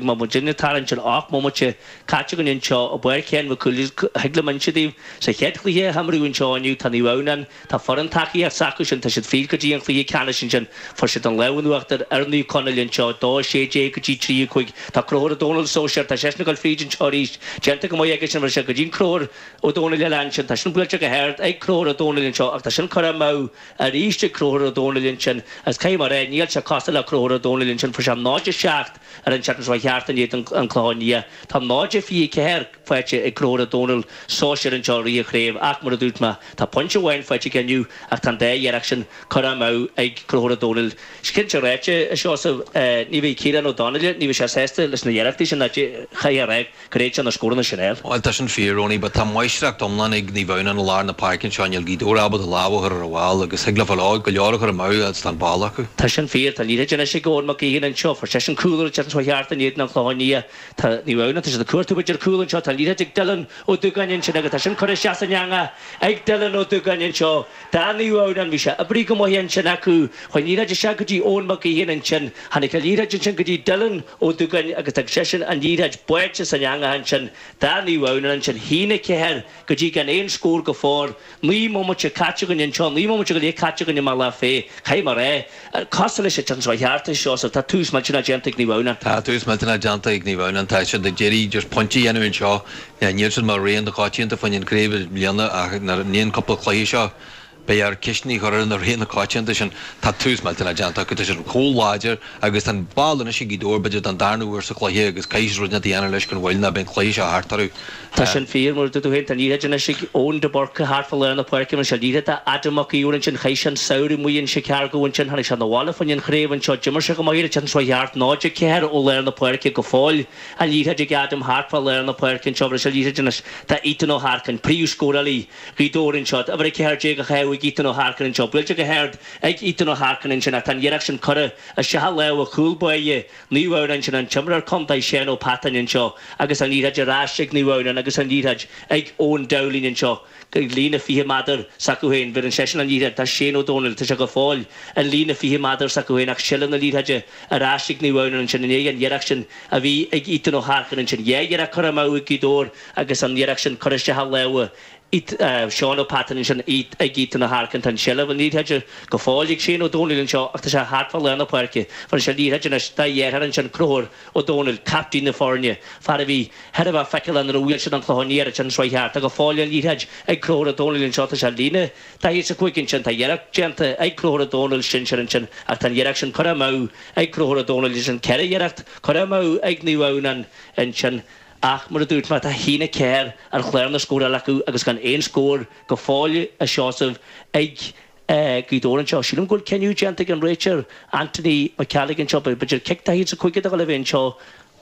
Má muidinne ag tarraingt ar 8 mbomaite caite againn anseo i bPáirc Sheáin Mhic Cumhaill, thig liom inse daoibh, sa chéad chluiche a himríodh anseo inniu, tá Naomh Adhamhnáin, tá foireann tacaíocht s'acu sin, tá siad fríd go dtí an chluiche ceannais ansin, fuair siad an lámh in uachtar ar Naomh Conaill anseo, 2, 16 go dtí 3, 5. Tá Conchúr Ó Dónaill sóisear, tá seisean ag dul fríd anseo arís, déanta go maith aige sin, bhí sé go dtí an Conchúr Ó Dónaill eile ansin, tá sin buailte go hard ag Conchúr Ó Dónaill anseo ach tá sin curtha amú arís ag Conchúr Ó Dónaill ansin agus caithfidh mé a rá, níl sé cosúil le Conchúr Ó Dónaill ansin, fuair sé 0, 7. Ar an tseachtain seo thart in éadan an Clochán Liath, tá 0, 24 faighte ag Conchúr Ó Dónaill sóisear anseo i rith an chraobh ach mar a dúirt mé, tá pointe amháin faighte aige inniu ach tá an dá iarracht sin curtha amú ag Conchúr Ó Dónaill. Cinnte ráite, a Sheosaimh, ní bheidh Ciarán Ó Donnaile, ní bheidh sé sásta leis na hiarrachtaí sin ach chaithfeá a rá gur fhéad sé na scóranna sin a fháil. Bhuel, tá sin fíor, Ronnie, but tá máistreacht iomlán ag Naomh Adhamhnáin i lár na páirce anseo, níl Gaoth Dobhair ábalta lámh a chur ar an bhall agus thig leo go leor a chur amú agus tá an ball acu. Tá sin fíor, tá an liathróid anois ag Eoin Mac Gaoithin anseo, fuair seisean cúl ar an tseachtain seo thart in éadan an Chlocháin Liath. Tá Naomh Adhamhnáin, tá siad ag cuartú b'fhéidir cúl anseo, tá an liathróid ag Dylan Ó Dúgáin ansin agus tá sin curtha isteach san eangach ag Dylan Ó Dúgáin anseo. Do Naomh Adhamhnáin, bhí sé oibrithe go maith ansin acu, chuaigh an liathróid isteach go dtí Eoin Mac Gaoithin ansin, tháinig an liathróid ansin go dtí Dylan Ó Dúgáin agus d'fhág seisean an liathróid báite san eangach ansin do Naomh Adhamhnáin ansin. 1-4 go dtí gan aon scór go fóill. 9 mbomaite caite againn anseo, 9 mbomaite go leith caite againn i mBealach Féich. Caithfidh mé a rá, cosúil leis an tseachtain seo thart, a Sheosaimh, tá tús millteanach déanta ag Naomh Adhamhnáin. Tá tús millteanach déanta ag Naomh Adhamhnáin. Tá siad ag iarraidh just pointe a dhéanamh anseo. Níl siad mar rogha na coitianta fá choinne an chraobh i mbliana ach i ndiaidh an cúpla cluiche seo, Beidh air ceisteanna a chur ar na roghanna na coitianta sin. Tá tús millteanach déanta acu, tá siad chomh láidir agus tá an ball anois ag Gaoth Dobhair, b'fhéidir don darna huair sa chluiche agus caithfidh siad rud inteacht a dhéanamh leis gan mhoill nó beidh an cluiche seo thart orthu. Tá sin fíor, mar a dúirt tú féin, tá an liathróid anois ag Eoin de Búrca thart fá lár na páirce, bhain sé an liathróid de Adam Mac Íomhair ansin, chaith sé an samhradh amuigh in Chicago ansin, tháinig sé 'na bhaile fá choinne an chraobh anseo, d'imir sé go maith ar an tseachtain seo thart, 0-4 ó lár na páirce go fóill, an liathróid ag Adam thart fá lár na páirce anseo, bhain sé an liathróid anois do Ethan Ó hEarcáin, príomhscórálaí. Ghaoth Dobhair anseo. Uimhir 14 á chaitheamh ag Ethan Ó hEarcáin anseo. Buailte go hard ag Ethan Ó hEarcáin ansin ach tá an iarracht sin curtha isteach i lámha chúl báire Naomh Adhamhnáin ansin, an t-imreoir contae Seán Ó Peatáin anseo agus an liathróid ar ais ag Naomh Adhamhnáin agus an liathróid ag Eoin Dowling anseo ag líne 20 méadar s'acu féin. Bheireann seisean an liathróid do Shane Ó Dónaill. Tá sé go fóill an líne 20 méadar s'acu féin ach seilbh na liathróide ar ais ag Naomh Adhamhnáin ansin i ndiaidh an iarracht sin a bhí ag Ethan Ó hEarcáin ansin. Dhá iarracht curtha amú ag Gaoth Dobhair agus an iarracht sin curtha isteach i lámha Seán Ó Peatáin ansin ag Ethan Ó hEarcáin. Tá an tseilbh an liathróide go fóill ag Shane Ó Dónaill anseo ach tá sé thart fá lár na páirce. Bheireann sé an liathróid anois dá dheartháir ansin, Conchúr Ó Dónaill, captaen na foirne, fear a bhí thar a bheith feiceálach nuair a bhuail siad an Clochán Liath ar an tseachtain seo thart. Tá go fóill an liathróid ag Conchúr Ó Dónaill anseo. Tá sé ar líne 45 ansin. Tá iarracht déanta ag Conchúr Ó Dónaill sinsir ansin ach tá an iarracht sin curtha amú ag Conchúr Ó Dónaill ansin. 4 iarracht curtha amú ag Naomh Adhamhnáin ansin. Ach, mar a dúirt mé, tá 1-4 ar chlár na scórála acu agus gan aon scór go fóill, a Sheosaimh, ag Gaoth Dobhair anseo. Sílim go bhfuil cinneadh déanta ag an réiteoir Anthony McCallig anseo, b'fhéidir cic daichead is a cúig a dhul a bheith anseo.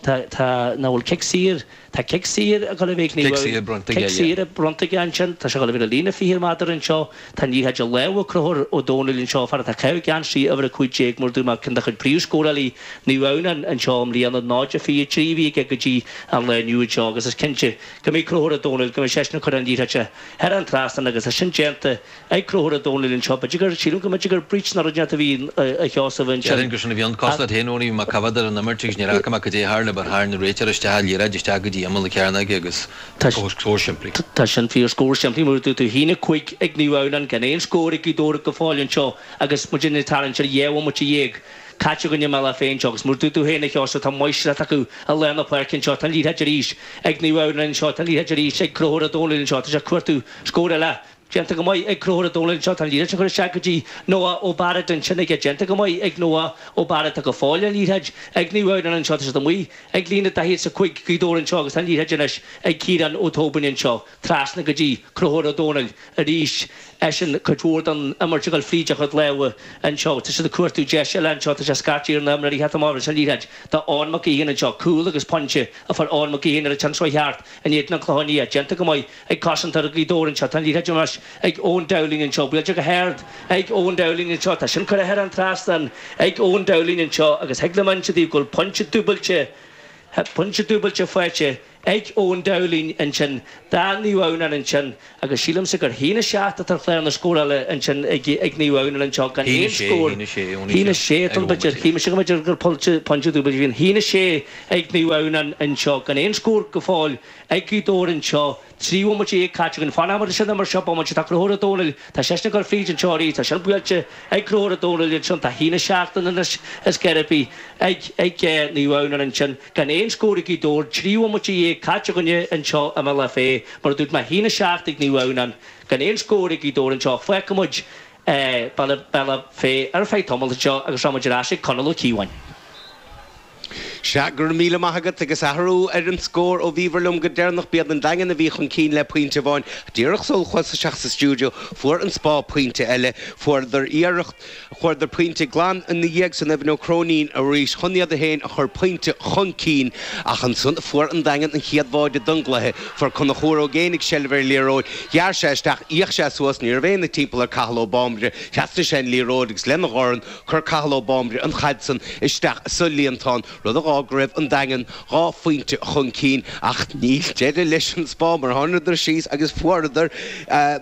Tá, tá, nach bhfuil cic saor, tá cic saor ag dul a bheith ag Naomh Cic saor bronnta aige, Cic saor bronnta aige ansin. Tá sé ag dul a bheith ar líne 20 méadar anseo. Tá an liathróid i lámha Conchúr Ó Dónaill anseo, fear atá ag caitheamh geansaí uimhir 15, mar a dúirt mé, ceann de chuid príomhscórálaí Naomh Adhamhnáin anseo i mbliana, 0-23 a bhí aige go dtí an lá inniu anseo agus is cinnte go mbeidh Conchúr Ó Dónaill, go mbeidh seisean ag cur an liathróid thar an trasnán agus é sin déanta ag Conchúr Ó Dónaill anseo. B'fhéidir gur, sílim go mb'fhéidir gur breach nó rud inteacht a bhí a Sheosaimh ansin. Déarfainn gur sin a bhí ann. Cosúil leat féin, Ronnie, bhí mé ag coimhéad ar an imirt agus níor fhaca mé cad é a tharla but tharraing an réiteoir isteach an liathróid isteach go dtí imeall na cearnóige agus scór simplí. Tá sin fíor, scór simplí mar a dúirt tú. 1-5 ag Naomh Adhamhnáin gan aon scór ag Gaoth Dobhair go fóill anseo agus muid ag tarraingt ar 12 bhomaite caite againn i mBealach Féich anseo agus mar a dúirt tú féin a Sheosaimh tá máistreacht acu i lár na páirce anseo. Tá an liathróid arís ag Naomh Adhamhnáin anseo, tá an liathróid arís ag Conchúr Ó Dónaill anseo, tá sé ag cuartú scór eile. Déanta go maith ag Conchúr Ó Dónaill anseo, tá an liathróid sin curtha isteach go dtí Noah Ó Bairéad ansin aige. Déanta go maith ag Noah Ó Bairéad. Tá go fóill an liathróid ag Naomh Adhamhnáin anseo, tá siad amuigh ag líne 45 Gaoth Dobhair anseo agus tá an liathróid anois ag Ciarán Ó Tóibín anseo, trasna go dtí Conchúr Ó Dónaill arís. Eisean cuid mhór den imirt ag dul fríd a chuid lámha anseo. Tá siad ag cuartú deis eile anseo. Tá sé ag scairtigh ar na himreoirí theacht amach leis an liathróid do Eoin Mac Gaoithín anseo. Cúl agus pointe a fuair Eoin Mac Gaoithín ar an tseachtain seo thart in éadan an Chlocháin Liath. Déanta go maith ag cosantóir Ghaoth Dobhair anseo. Tá an liathróid anois ag Eoin Dowling anseo. Buailte go hard ag Eoin Dowling anseo. Tá sin curtha thar an trasnán ag Eoin Dowling anseo agus thig liom inse daoibh go bhfuil pointe dúbailte, pointe dúbailte faighte. ag Eoin Dowling ansin do Naomh Adhamhnáin ansin agus sílimse gur 1-7 atá ar chlár na scórála ansin ag Naomh Adhamhnáin anseo gan aon scór. 1-6 atá ann b'fhéidir. Shíl mise go mb'fhéidir gur pointe dúbailte a bhí ann. 1-6 ag Naomh Adhamhnáin anseo gan aon scór go fóill ag Gaoth Dobhair anseo. 13 bhomaite caite againn. Fanfaidh muid ansin mar seo bomaite. Tá Conchúr Ó Domhnaill, tá seisean ag dul fríd anseo arís. Tá sin buailte ag Conchúr Ó Domhnaill ansin. Tá 1-7 ann anois ar scor ar bith ag Naomh Adhamhnáin ansin. Gan aon scór ag Gaoth Dobhair. 13 bhomaite caite againne anseo i mBealach Féich. Mar a dúirt mé, 1-7 ag Naomh Adhamhnáin. Gan aon scór ag Gaoth Dobhair anseo. Fágfaidh muid Bealach Féich ar feadh tamaill anseo agus rachaidh muid ar ais ag Conall Ó Cíobháin. Sea, go raibh míle maith agat. Agus athrú ar an scór ó bhíobhair liom go deireanach, b'iad an Daingean a bhí chun cinn le pointe amháin. Díreach sul chuas isteach sa stiúideo, fuair an Spá pointe eile. Fuaireadar iarracht, fuaireadar pointe glan ina dhiaidh san, Evan Ó Cróinín arís, chun iad féin a chur pointe chun cinn. Ach ansan fuair an Daingean an chéad bháide don gcluiche. Fuair Conchúr Ó Géibheannaigh seilbh ar an liathróid, ghearr sé isteach, d'fhéach sé suas, ní raibh éinne timpeall ar Cathal Ó Báimbre, thrasnaigh sé an liathróid agus lena dhorn, Chuir Cathal Ó Báimbre an chaid san isteach sa líontán, rud a dh'fhág go raibh an Daingean 2 phointe chun cinn ach níl deireadh leis an Spá mar tháingadar síos agus fuaireadar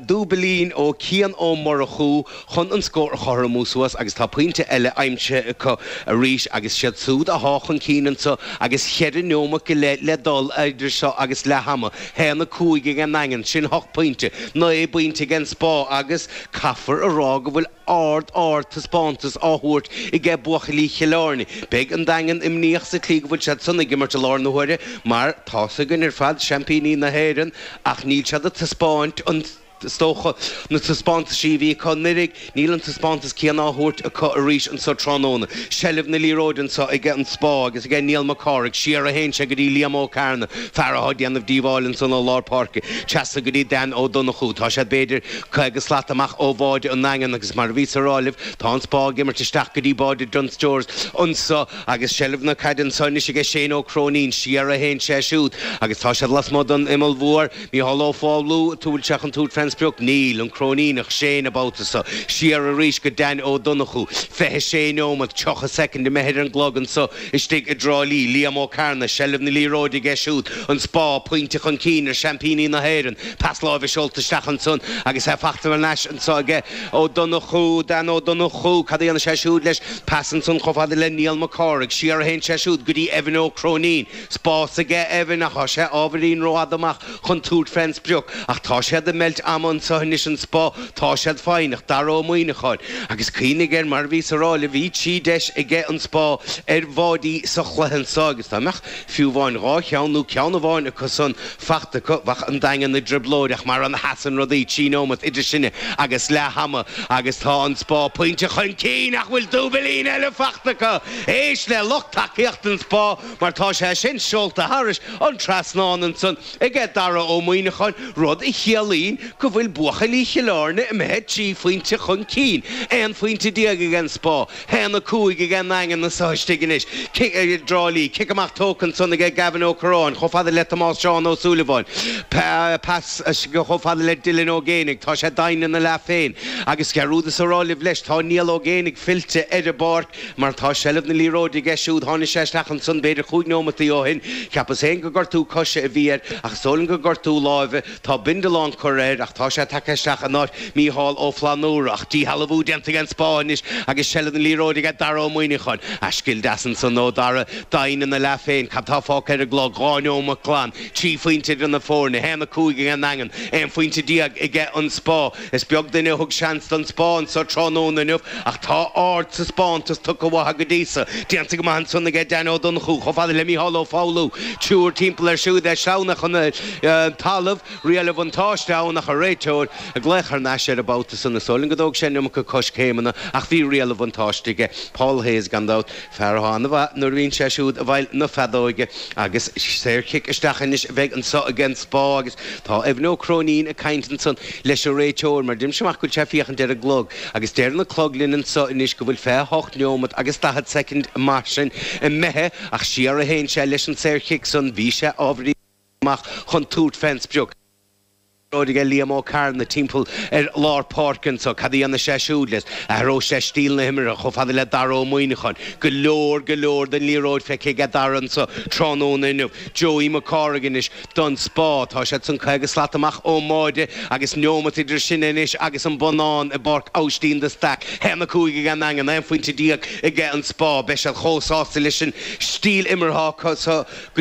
dúbailín ó Cian Ó Murchú chun an scór a chothromú suas agus tá pointe eile aimsithe acu arís agus siad súd athá chun cinn anso agus cheithre neomat go leith le dul idir seo agus leath ama. 1-5 ag an nDaingean, sin hocht bpointe, naoi bpointe ag an Spá agus caithfear a rá go bhfuil ard, ard taispeántas á thabhairt aige buachaillí Chill Airne. Beidh an Daingean imníoch sa tslí go bhfuil siad san ag imirt i láthair na huaire mar tá's againn ar fad, seaimpíní na hÉireann ach níl siad ag taispeáint an, is dócha, na taispeántaisí a bhí acu anuiridh, níl an taispeántas céanna á thabhairt acu arís anso tráthnóna. Seilbh na liathróide anso aige an Spá agus aige Niall Mac Cárthaigh, siar a théann sé go dtí Liam Ó Cearna, fear athá ag déanamh díobháil ansan ó lár páirce, trasna go dtí Dan Ó Donnchú. Tá siad b'fhéidir 50 slat amach ó bháide an nDaingean agus mar a bhíos a rá libh, tá an Spá ag imirt isteach go dtí báide Dunnes Stores anso agus seilbh na caide anso anois aige Shane Ó Cróinín. Siar a théann sé siúd agus tá siad lasmuigh den imeall mhór. Micheál Ó Foghlú, an bhfuil sé chun tabhairt fén sprioc? Níl. An Cróiníneach, Shane an babhta so. Siar arís go Dan Ó Donnchú. 26 neomat, 30 soicind imithe ar an gclog anso istigh i dTrá Lí. Liam Ó Cearna, seilbh na liathróide aige siúd. An Spá, pointe chun cinn ar seaimpíní na hÉireann. Pas láimhe seolta isteach ansan agus é fachta thar n-ais anso aige Ó Donnchú, Dan Ó Donnchú. Cad a dhéanfaidh sé siúd leis? Pas ansan chomh fada le Niall Mac Cárthaigh. Siar a théann sé siúd go dtí Evan Ó Cróinín. Spás aige Evan ach tá sé ábhairín rófhada amach chun tabhairt fén sprioc. Ach tá siad ag meilt ama anso anois an Spá. Tá siad foighneach. Dara Ó Muíneacháin. Agus cuimhnigh air mar a bhíos a rá libh bhí 3 deis aige an Spá ar bháidí sa chluiche anso agus dá mbeadh fiú amháin 2 cheann nó ceann amháin acu san fachta acu, bheadh an Daingean i dtrioblóid ach mar a sheasann rudaí, 3 neomat idir sinne agus leath ama agus tá an Spá pointe chun cinn ach bhfuil dúbailín eile fachta acu! Éist le lucht tacaíochta an Spá mar tá sé sin seolta thairis an trasnán ansan aige Dara Ó Muíneacháin, rud a chiallaíonn go bhfuil buachaillí Chill Airne imithe 3 phointe chun cinn, 11 phointe ag an Spá. 1, 5 ag an nDaingean anso istigh anois. Cic i dTrá Lí. Cic amach tógtha ansan aige Gavin Ó Curráin chomh fada le Tomás Seán Ó Súilleabháin. Pas chomh fada le Dylan Ó Géibheannaigh. Tá sé doimhin ina leath féin. Agus dhearúdas a rá libh leis, tá Niall Ó Géibheannaigh fillte ar an bpáirc mar tá seilbh na liathróide aige siúd. Tháinig sé isteach ansan b'fhéidir chúig neomataí ó shin. Cheapas féin gur gortú coise a bhí air ach is dóigh liom gur gortú láimhe. Tá bindealán curtha air ach tá sé tagtha isteach in áit Mícheál Ó Flannúra. Ach díshealbhú déanta ag an Spá anois agus seilbh na liathróide aige Dara Ó Muíneacháin. A scil deas ansan ó Dara. Doimhin ina leath féin. Cad tá fágtha ar an gclog? 2 neomat glan. 3 phointe idir na foirne. 1, 5 ag an nDaingean. 11 phointe aige an Spá. Is beag duine a thug seans don Spá anso tráthnóna inniu ach tá ardtaispeántas tugtha uathu go dtí so. Déanta go maith ansan aige Dan Ó Donnchú chomh fada le Mícheál Ó Foghlú. Triúr timpeall air siúd é sleamhnaithe chun an talaimh. Riail an bhuntáiste ann ach an réiteoir ag glaoch thar n-ais air an babhta san. Is dóigh liom go dtóg sé an iomarca coiscéimeanna ach bhí riail an bhuntáiste aige. Paul Hayes gan dabht. Fear atá an-mhaith nuair a bhíonn sé siúd i bhfeighil na feadóige agus saorchic isteach anois a bheidh anso ag an Spá agus tá Evan Ó Cróinín ag caint ansan leis an réiteoir mar deirimse amach go bhfuil sé ag féachaint ar an gclog agus deireann an clog linn anso anois go bhfuil 28 neomat agus 40 soicind mar sin imithe ach siar a théann sé leis an saorchic san bhí sé ábhairín amach chun tabhairt fén sprioc. Liathróid aige Liam Ó Cearna timpeall ar lár páirce anso. Cad a dhéanfaidh sé siúd leis? Athróidh sé stíl na himeartha chomh fada le Dara Ó Muíneacháin. Go leor, go leor den liathróid feicthe aige Dara anso tráthnóna inniu. Joey Mac Cárthaigh anois don Spá. Tá siad san 50 slat amach ón mbáide agus neomat idir sinne anois agus an bonnán i bPáirc Aibhistín de Staic. 1-5 ag an nDaingean, 11 phointe aige an Spá. Beidh siad chomh sásta leis an stíl imeartha acu so go.